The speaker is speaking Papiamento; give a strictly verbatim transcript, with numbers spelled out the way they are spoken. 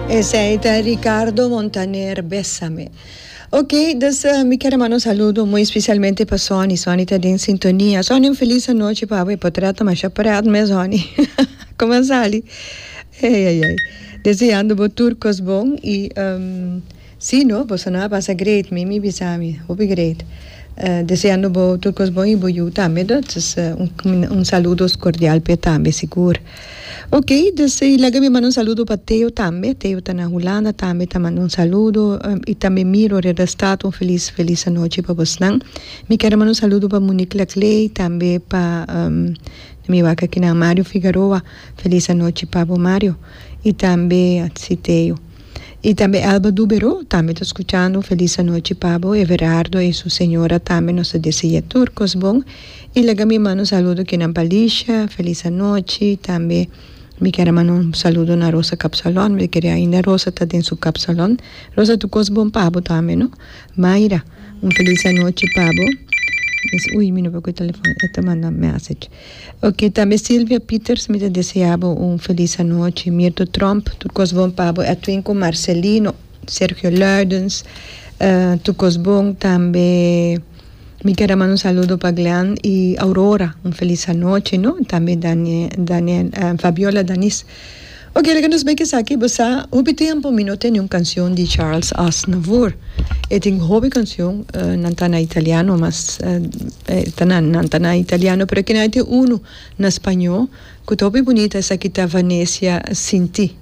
Esey ta Ricardo Montaner, Bésame. Ok, dus uh, mi kier manda un saludo muy especialmente pa Sonny. Sonny ta den sintonia. Sonny, un feliz anochi pa bo. Portret mas pret mes, Sonny. Con a sali? Ei, ei, ei. Deseando bo tur cos bon y um, si, no, bo a pasa great, mi mi bisa mi, hopi great. Uh, deseando bo tur cos bon y bo yiu tambe, dus uh, un, un saludo cordial pa tambe, sigur. Ok, dus y laga mi manda un saludo pa Teo tambe. Teo ta na Hulanda tambe, ta manda un saludo. Um, y tambe Miro Redestad, un feliz, feliz anochi pa boso. Mi kier manda un saludo pa Monique Laclay, tambe pa um, mi wak aki na Mario Figueroa. Feliz anochi pa Mario. Y tambe si Teo. Y tambe Alba Dubero, tambe ta scuchando. Feliz anochi pa bo. Everardo y su señora tambe nos ta desea tur cos bon. Y laga mi manda un saludo aki na Palicia. Feliz anochi. Tambe mi kier manda un saludo na Rosa Capsalon. Mi kier ainda Rosa ta den su Capsalon. Rosa, tur cos bon pa bo tambe, no? Mayra, un feliz anochi pa bo. Ui, mi no por telefon, e ta manda message. Ok, tambe Silvia Peters, mi ta desea un feliz anochi. Mirto Trump, tur cos bon pa bo. Edwin cu Marcelino, Sergio Luidens, uh, tur cos bon tambe. Mi kier manda un saludo pa Glenn y Aurora, un feliz anochi, no? Tambe Daniel, Daniel uh, Fabiola Danis. Ok, laga nos bay aki, bo sa, hopi tempo mi no tin un cancion di Charles Aznavour. E tin hopi cancion, uh, nan ta na italiano, mas uh, ta na, nan ta na italiano, pero cu nan tin uno na spaño, cu ta hopi bunita, esaki ta Venecia Sin Ti.